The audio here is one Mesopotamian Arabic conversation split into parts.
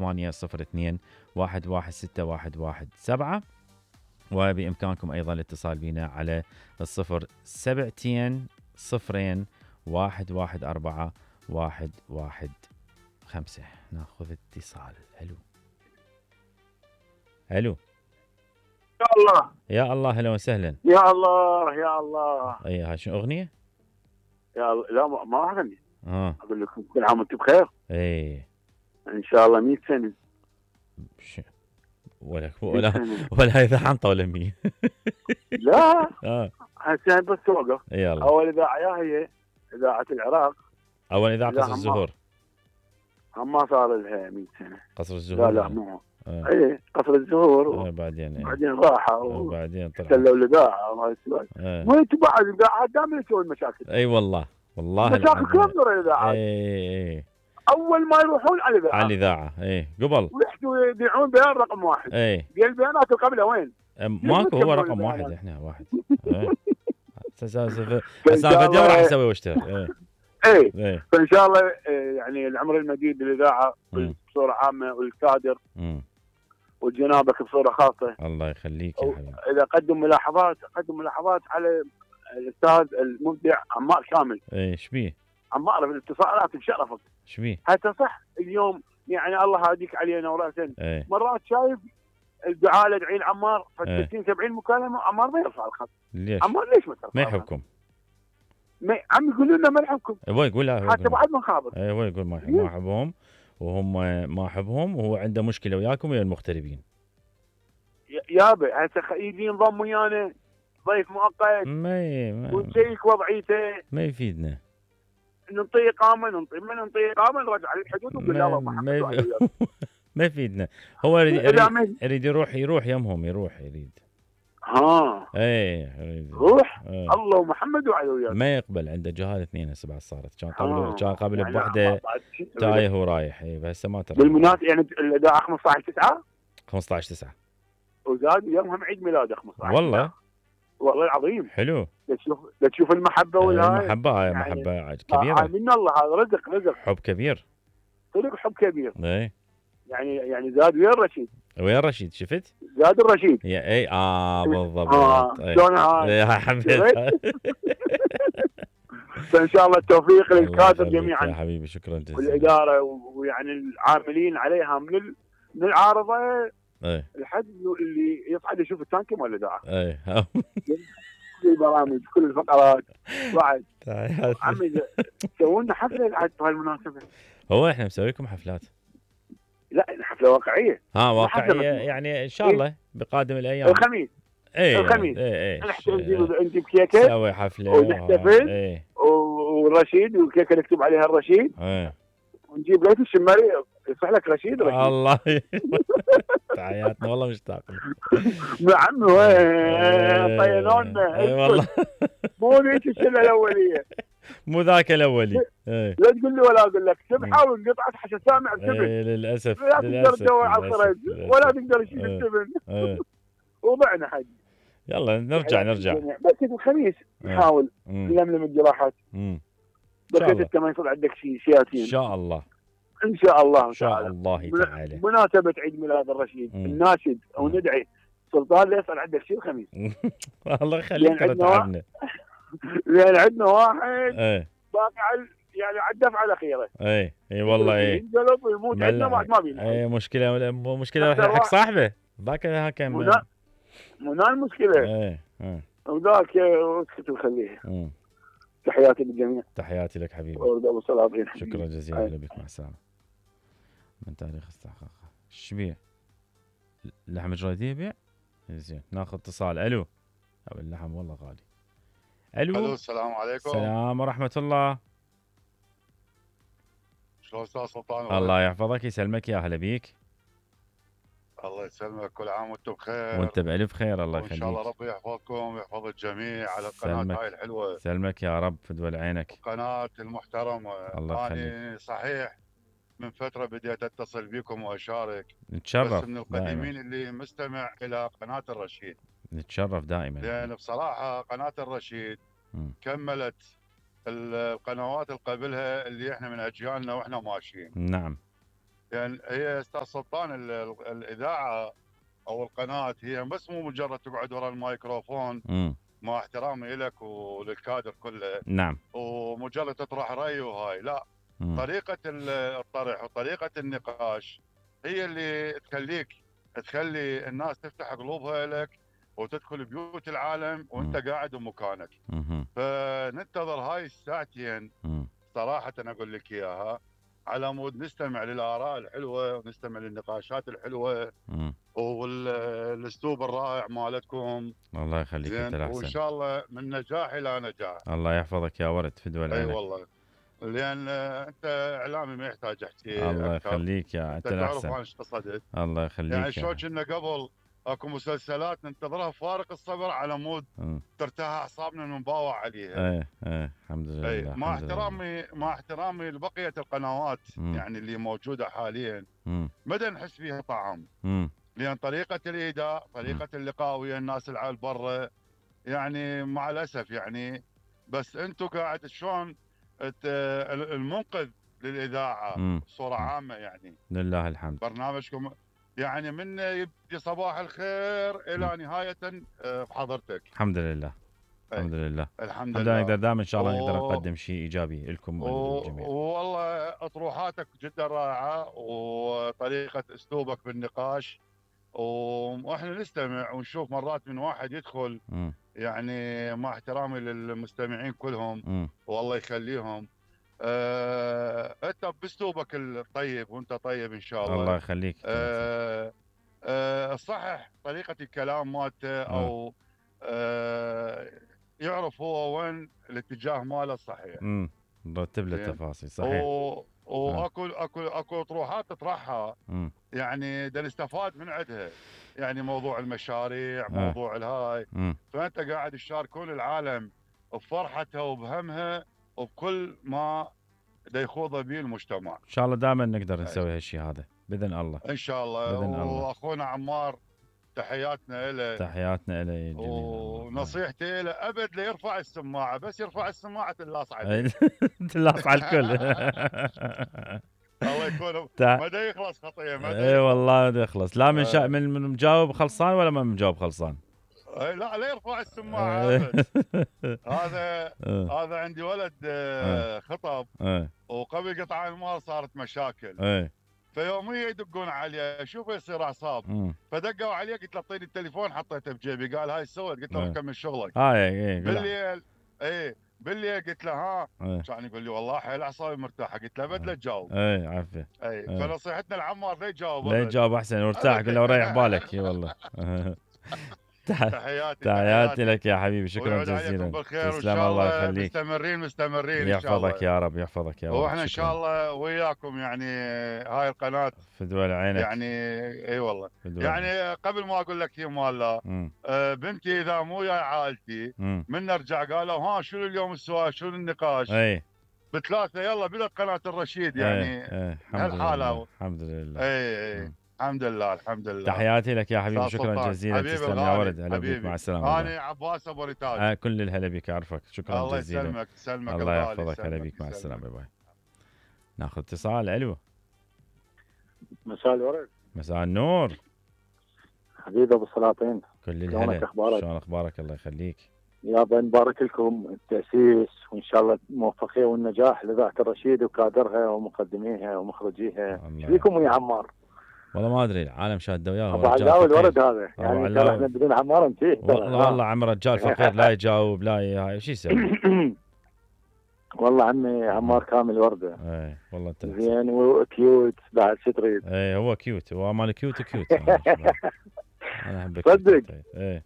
02-116-117. وبإمكانكم أيضا الاتصال بنا على 072-2-0-114-115. ناخذ اتصال. الو يا الله يا الله، هلا وسهلا. يا الله يا الله. اي هاي شنو اغنيه؟ يا الله لا ما اغني. اقول لكم كل عام وانتم بخير. اي ان شاء الله 100 سنه. ولا اذا حنطه ولا 100. لا هسه بس توقف. يلا. اول اذاعه هي اذاعه العراق. اول اذاعه قصر الزهور. ما صار لها 100 سنه. قصر الزهور. لا مو اي قصر الزهور. بعدين راحوا وبعدين طلعوا سلوا الاذاعه وهاي السوالف. وانتم بعد الاذاعات دائما تسوون مشاكل. اي والله مشاكل كلهم دور الاذاعات. اي اول ما يروحون على الاذاعه اي قبل ويحكوا يبيعون بيان رقم واحد. اي البيانات قبله وين؟ ماكو، هو رقم واحد. احنا واحد. سالفه دور راح اسوي واشتغل. اي فان شاء الله يعني العمر المديد للاذاعه بصوره عامه والكادر وجنابك بصوره خاصه. الله يخليك يا حبيبي. اذا قدم ملاحظات على الاستاذ المبدع عمار كامل. شبيه؟ عمار بالاتصالات بشرفك. شبيه؟ حتى صح اليوم يعني الله هاديك علينا وراسا. ايه. مرات شايف الدعاء ادعي لعمار 60 70 مكالمه عمار ما يرفع الخط. ليش؟ عمار ليش ما ترفع؟ ما يحبكم. عم يقولوا لنا ما نحبكم. هو يقول حتى بعد ما خابر. هو يقول ما احبهم وهم ما احبهم وهو عنده مشكله وياكم ويا المغتربين. يابا هسه يجي ينضم ويانا ضيف مؤقت ونشيك وضعيته. ما يفيدنا. نعطيه اقامه نرجع للحدود ونقول لا ما يفيدنا. هو يريد يروح يمهم يريد. يريد روح. الله ومحمد وعلوياك. ما يقبل، عنده جهاز 2 هسه بعد صارت. كان قبل بوحده تايه ورايح. هسه ما ترى. بالمناسبه يعني الاذاعه 15/9 15/9 وزاد يومهم عيد ميلاده 15. والله العظيم. حلو. تشوف المحبه والهاي. المحبه هاي محبه كبيره. من الله هذا رزق حب كبير. صدق حب كبير. اي يعني زاد وين الرشيد شفت؟ زاد الرشيد. بالضبط. شلون هاي؟ حبيتها. فان شاء الله التوفيق للكادر جميعا يا حبيبي. شكرا جزيلا. والاداره ويعني العاملين عليها من العارضه لحد اللي يصعد يشوف التانكي مال الاذاعه. كل البرامج كل الفقرات بعد. عمي سووا لنا حفله بعد بهالمناسبه. هو احنا مسوي لكم حفلات. لا حفله واقعيه. واقعيه يعني ان شاء الله بقادم الايام. الخميس. الخميس. نجيب كيكه نسوي حفله ونحتفل. والرشيد والكيكه نكتب عليها الرشيد. ونجيب ليث الشماري يصح لك رشيد. الله تحياتنا والله مشتاق. نعم طينونا. والله مو ذيك الشله الاوليه. مو ذاك الاولي. لا تقول لي ولا اقول لك. سبحه وانقطعت حتى سامع بسبن. للاسف. لا تقدر تدور على الخرج ولا تقدر تشيل السبن. وضعنا حق. يلا نرجع. بس الخميس نحاول نلملم الجراحات. بس انت ما يصير عندك شياتين. ان شاء الله. ان شاء الله تعالى. مناسبة عيد ميلاد الرشيد الناشد او ندعي سلطان لا يصير عندك شيء الخميس. الله يخليك تعبنا. لان عندنا واحد باقي يعني على الدفعه الاخيره. اي والله. ينقلب ويموت عندنا بعد ما بينا. مشكله حق صاحبه ذاك مو المشكله. وذاك اسكت وخليه. تحياتي للجميع. تحياتي لك حبيبي. شكرا جزيلا لك. مع السلامه. من تاريخ استحقاقه شبيه اللحم الجرادي يبيع. زين ناخذ اتصال. الو. اللحم والله غالي. الو. السلام عليكم. السلام ورحمه الله. شلون استاذ سلطان؟ الله يحفظك يسلمك. يا هلا بيك. الله يسلمك. كل عام وانتم بخير. وانت بالف خير. الله يخليك. ان شاء الله ربي يحفظكم ويحفظ الجميع على القناه هاي الحلوه. سلمك يا رب. فدوى عينك. القناه المحترمه. الله يخليك. أنا صحيح من فتره بديت اتصل بكم واشارك. نتشرف. بس من القديمين اللي مستمع الى قناه الرشيد. نتشرف دائما. لان بصراحه قناه الرشيد كملت القنوات اللي قبلها اللي احنا من اجيالنا واحنا ماشيين. نعم. يعني هي استاذ سلطان الاذاعه او القناه هي بس مو مجرد تقعد ورا الميكروفون مع احترامي لك وللكادر كله. نعم. ومجرد تطرح راي وهاي لا. طريقه الطرح وطريقه النقاش هي اللي تخلي الناس تفتح قلوبها لك وتدخل بيوت العالم وانت قاعد بمكانك. فننتظر هاي الساعتين صراحه اقول لك اياها على مود نستمع للاراء الحلوه ونستمع للنقاشات الحلوه والاسلوب الرائع مالتكم. الله يخليك انت الاحسن. وان شاء الله من نجاح الى نجاح. الله يحفظك يا ورد فدوى العينك. اي والله لان انت اعلامي ما يحتاج احكي. الله يخليك يا انت الاحسن. تعرف انا ايش قصدت. الله يخليك. يعني شلون كنا قبل اكو مسلسلات ننتظرها فارق الصبر على مود ترتاح اعصابنا ونباوع عليها. الحمد لله. مع احترامي لبقيه القنوات يعني اللي موجوده حاليا مدى نحس فيها طعم. لان طريقه الايداء طريقه اللقاء ويا الناس العال برا يعني مع الاسف يعني بس انتم قاعد شلون المنقذ للاذاعه بصوره عامه يعني. لله الحمد. برنامجكم يعني من يبدي صباح الخير الى نهايه بحضرتك. الحمد لله. الحمد لله. الحمد لله. نقدر دائما ان شاء الله نقدر نقدم شيء ايجابي لكم وللجميع. والله اطروحاتك جدا رائعه وطريقه اسلوبك بالنقاش واحنا نستمع ونشوف مرات من واحد يدخل يعني مع احترامي للمستمعين كلهم والله يخليهم انت باسلوبك الطيب وانت طيب ان شاء الله. الله يخليك. صحح طريقه الكلام مالته او يعرف هو وين الاتجاه ماله الصحيح. نرتب له التفاصيل صحيح. اكو اطروحات تطرحها يعني نستفاد من عندها يعني موضوع المشاريع موضوع الهاي فانت قاعد تشاركون العالم بفرحتها وبهمها وبكل ما يخوض به المجتمع. ان شاء الله دائما نقدر نسوي هالشيء هذا باذن الله. ان شاء الله. واخونا عمار تحياتنا له. تحياتنا له يا جميل. ونصيحتي له ابد لا يرفع السماعه بس يرفع السماعه تلاص عليه. تلاص على الكل. الله يكون ما دا يخلص خطيه اي والله دا يخلص لا من مجاوب خلصان ولا ما مجاوب خلصان. لا يرفع السماعه. هذا عندي ولد خطب وقبل قطع المال صارت مشاكل. فيوميا يدقون عليه شوف يصير اعصاب. فدقوا عليه قلت له اعطيني التليفون حطيته بجيبي قال هاي سويت قلت له كمل شغلك. بالليل بالليل قلت له ها كان يقول لي والله حيل اعصابي مرتاحه قلت له ابد لا تجاوب. عافيه. فنصيحتنا العمار لا يجاوب. لا يجاوب احسن وارتاح قل له وريح بالك. اي والله. تحياتي لك يا حبيبي شكرا جزيلا. تسلم الله يخليك. مستمرين يحفظك يا رب يحفظك يا رب. واحنا ان شاء الله وياكم يعني هاي القناه فدوى عينك يعني اي والله يعني قبل ما اقول لك مال بنتي اذا مو وياي عائلتي من نرجع قالوا ها شنو اليوم السؤال شنو النقاش. بثلاثه يلا بدات قناه الرشيد يعني هالحاله. الحمد لله. اي الحمد لله الحمد لله. تحياتي لك يا حبيبي شكرا جزيلا. تسلم يا ولد. هلا بك مع السلامه. انا عباس ابو ريتاج. كل الهلا بك اعرفك شكرا الله جزيلا. الله يسلمك الله يحفظك. هلا بك مع السلامه. باي باي. ناخذ اتصال. الو مساء الورد. مساء النور حبيبي ابو السلاطين. كل الهلا. شلون اخبارك؟ الله يخليك يابا. نبارك لكم التاسيس وان شاء الله الموفقيه والنجاح لاذاعه الرشيد وكادرها ومقدميها ومخرجيها. ايش بيكم ويا عمار؟ والله ما ادري العالم شاد وياه. ابو علاوي الورد هذا يعني ترى احنا بدون عمار نتيه. والله عم رجال فقير لا يجاوب لا هاي شو يسوي. والله عمي عمار كامل ورده. اي والله انت زين وكيوت بعد شو تريد. اي هو كيوت هو مال كيوت. انا احبك صدق.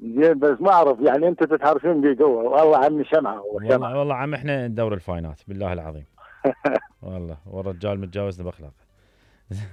زين بس ما اعرف يعني انت تتحرفين بيه قوه. والله عمي شمعه. والله عم احنا ندور الفاينات بالله العظيم. والله والرجال متجاوزنا باخلاقه.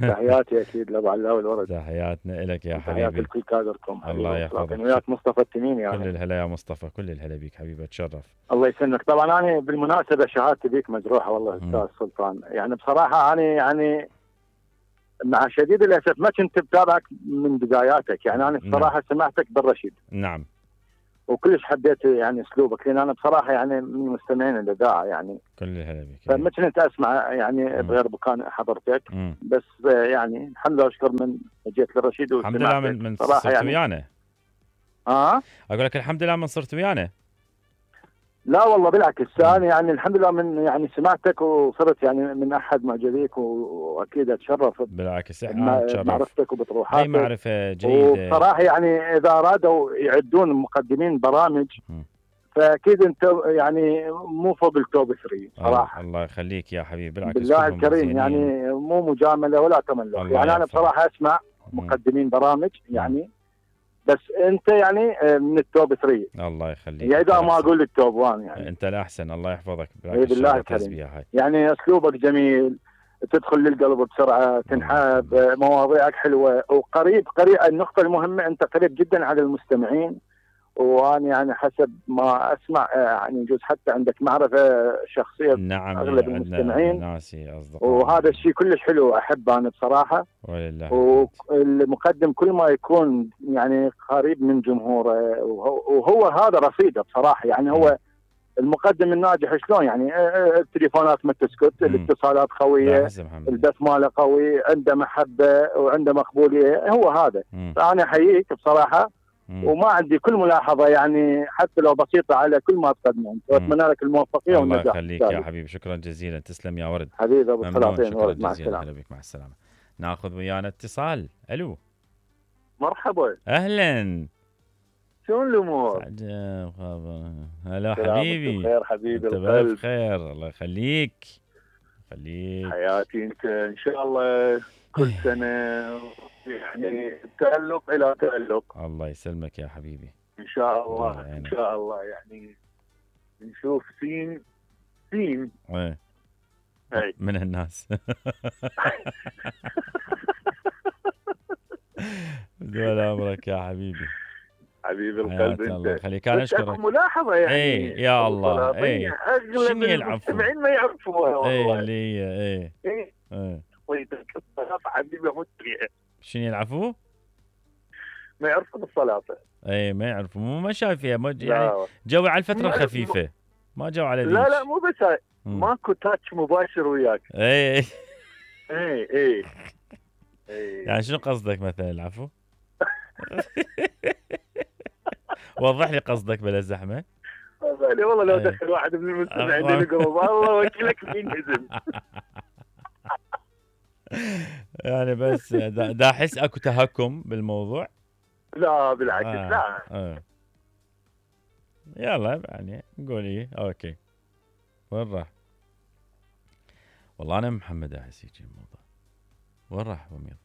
تحياتي اكيد لابو علاوي الورد. تحياتنا لك يا حبيبي. تحياتي لكل كادركم. الله يحفظك. وياك مصطفى التنيني يعني. كل الهلا يا مصطفى. كل الهلا بيك حبيبي. اتشرف. الله يسلمك. طبعا انا بالمناسبه شهادتي بيك مجروحه والله استاذ سلطان. يعني بصراحه انا يعني مع شديد الاسف ما كنت بتابعك من بداياتك. يعني انا بصراحه سمعتك بالرشيد. نعم. وكلش حبيت يعني اسلوبك، لان انا بصراحه يعني من مستمعين الاذاعه يعني. كل الهلا بك. فما كنت اسمع يعني بغير مكان حضرتك، بس يعني الحمد لله اشكر من جيت للرشيد الحمد لله من صرت يعني ويانا. اقول لك الحمد لله من صرت ويانا. لا والله بالعكس، انا يعني الحمد لله من يعني سمعتك وصرت يعني من احد معجبيك، واكيد اتشرف بالعكس احنا بمعرفتك وبطروحاتك. اي معرفه جيده. وبصراحه يعني اذا ارادوا يعدون مقدمين برامج فاكيد انت يعني مو فوق التوب 3 صراحه. الله يخليك يا حبيبي، بالعكس بالله الكريم يعني مو مجامله ولا تملق، يعني انا بصراحه اسمع مقدمين برامج يعني بس انت يعني من التوب 3. الله يخليك. يعني اذا ما اقول التوب 1 يعني انت الاحسن، الله يحفظك. بالله الكريم يعني اسلوبك جميل، تدخل للقلب بسرعه، تنحب، مواضيعك حلوه وقريب. النقطه المهمه انت قريب جدا على المستمعين، وانا يعني حسب ما اسمع يعني يجوز حتى عندك معرفه شخصيه. نعم اغلب المستمعين ناسي اصدقاء، وهذا الشيء كلش حلو، احبه انا بصراحه. ولله والمقدم كل ما يكون يعني قريب من جمهوره، وهو هذا رصيده بصراحه. يعني هو المقدم الناجح شلون يعني التليفونات ما تسكت، الاتصالات قويه، البث ماله قوي، عنده محبه وعنده مقبوليه، هو هذا. فانا احييك بصراحه، وما عندي كل ملاحظه يعني حتى لو بسيطه على كل ما تقدمه، واتمنى لك الموفقيه والنجاح. الله يخليك يا حبيبي، شكرا جزيلا، تسلم يا ورد حبيبي ابو السلاطين. شكرا جزيلا، هلا بك، مع السلامه. ناخذ ويانا اتصال. الو مرحبا. اهلا، شلون الامور؟ هلا حبيبي. بخير حبيبي القلب. بخير، الله يخليك. حياتي انت ان شاء الله كل سنه يعني تألق الى تألق. الله يسلمك يا حبيبي. ان شاء الله ان شاء الله يعني نشوف سين ايه من الناس. دول امرك يا حبيبي. حبيبي القلب انت. الله يخليك، انا اشكرك. ملاحظه يعني ايه يا الله. ايه اغلب المستمعين ما يعرفوها والله. ايه حبيبي شنو يلعبوا؟ ما يعرفون الصلاة. اي ما يعرفوا، ما شايفيها يعني جوي على الفترة الخفيفة، ما جو على ذيك. لا مو بس ماكو تاتش مباشر وياك. اي اي يعني شنو قصدك مثلا العفو؟ وضح لي قصدك بلا زحمة. والله لو دخل واحد من المستمعين الجروب الله وكيلك بينهزم. يعني بس دا احس اكو تهكم بالموضوع. لا بالعكس لا. يلا يعني نقول ايه اوكي. وين راح؟ والله انا محمد احس هيك الموضوع. وين راح وميض؟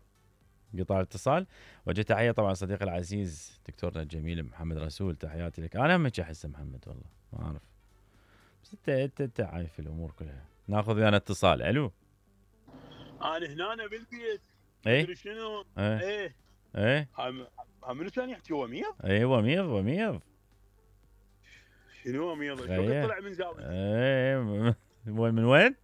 قطع الاتصال. وجه تحيه طبعا صديقي العزيز دكتورنا الجميل محمد رسول، تحياتي لك. انا هم احس محمد والله ما اعرف، بس انت عارف الامور كلها. ناخذ ويانا اتصال. الو. انا هنا بالبيت. ايه شنو؟ ايه منو ثاني يحكي؟ وميض؟ ايه وميض. شنو وميض؟ شلون طلع من زاوية؟ ايه من وين؟